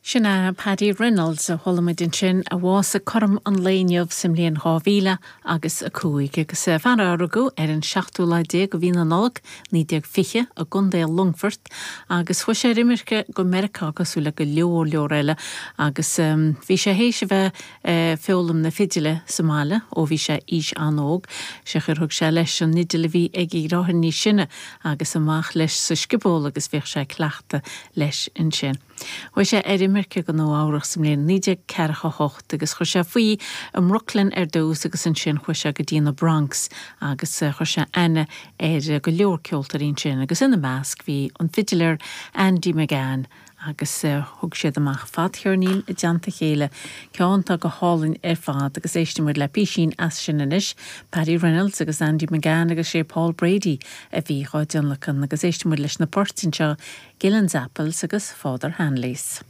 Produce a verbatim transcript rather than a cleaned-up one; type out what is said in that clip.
Sin é Paddy Reynolds a chuala muid ansin a bhásaigh cothrom an lae inniu sa mbliain dhá mhíle agus a cúig agus fear a rugadh ar an seachtú lá déag de mhí na Nollag naoi déag fiche i gContae Longfoirt agus chuaigh sé ar imirce go Meiriceá cosúil le go leor leor eile agus bhí sé théis a bheith ag foghlaim na fidile sa mbaile ó bhí sé aois an-óg sé chur thug sé leis an fhidil a bhí ag a dheartháir níos sine agus amach leis sa scioból agus bhíodh sé ag cleachtadh leis ansin. Chuaigh sé ar imirce go Nua Eabhrac sa mbliain naoi déag ceathracha hocht agus chuir sé faoi i mBrooklyn ar dtús agus ansin chuaigh sé go dtí na Bronx agus chuir sé aithne ar go leor ceoltóirí ansin agus ina measc bhí an fidiléir Andy McGann agus thug siad amach fadcheirnín i dteannta a chéile, ceann atá go hálainn ar fad agus éistfidh muid le písín as sin anois, Paddy Reynolds agus Andy McGann agus sé Paul Brady a bhí á dtionlacan agus éistfidh muid leis na poirt anseo Gillen's Apples agus Father Hanley's.